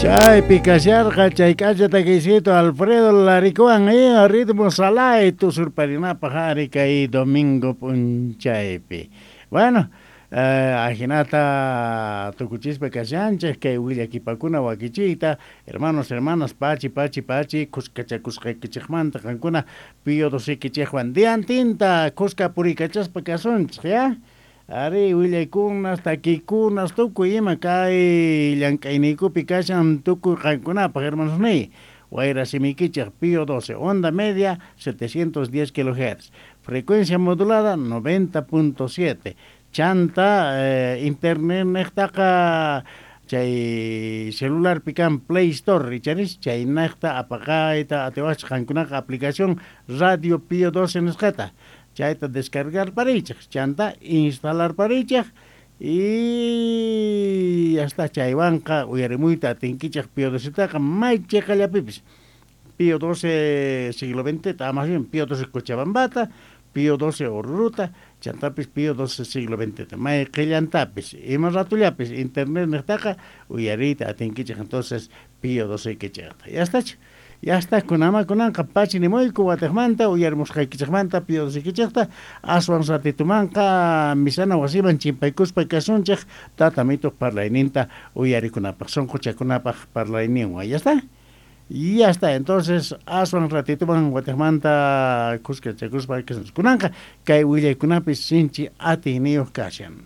Chaypi kasharqa chay k'acha takiycito Alfredo Larikuwan ritmo salay tusurparinapaq ari kay domingo p'unchaypi. Bueno, ajinata tukuchispa kashanchej kay willakipakuna wakichiyta, hermanos, hermanas, pachi, pachi, pachi, khuskachakusqaykichejmanta qankuna Pío XII-kichejwan diantinta khuska puriykachaspa kasunchej, ya? Ari willaykunas, takiykunas, tukuy ima kay llank'ayniykupi kashan tukuy qankunapaq, hermanos niy. Wayra simiykichej Pío XII, onda media 710 kHz, frecuencia modulada 90.7, chanta internet nejtaqa chay celularpi kan Play Store, icharis chay nejta apaqayta atiwachej qankunaqa aplicación Radio Pío XII nisqata, chayta descargar pariychej, chanta instalar pariychej y hasta chaywanqa uyarimuyta atinkichej Pío XII-taqa may cheqallapipis. Pío XII siglo XX, más bien Pío XII Cochabambata, Pío XII Oruruta, chantapis Pío XII siglo XX, may qillantapis, ima ratullapis internet nejtaqa uyariyta atinkichej entonces Pío XII kichejta. Ya está, ya está, kunama kunanqa pachi nimuyku watejmanta uyarimusqaykichejmanta Pío XII kichejta, aswan ratitumanqa misana wasiman chimpaykuspa kasunchej tatamituq parlayninta uyarikunapaq, sonqochakunapaq parlayninwan. Ya está. Y ya está, entonces aswan ratituman watejmanta khuskachakuspa kasunchej. Kunanqa kay willaykunapis sinchi atiyniyuq kashan.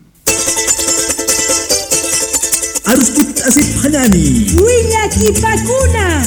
Arput asiphanani. Willakipakuna.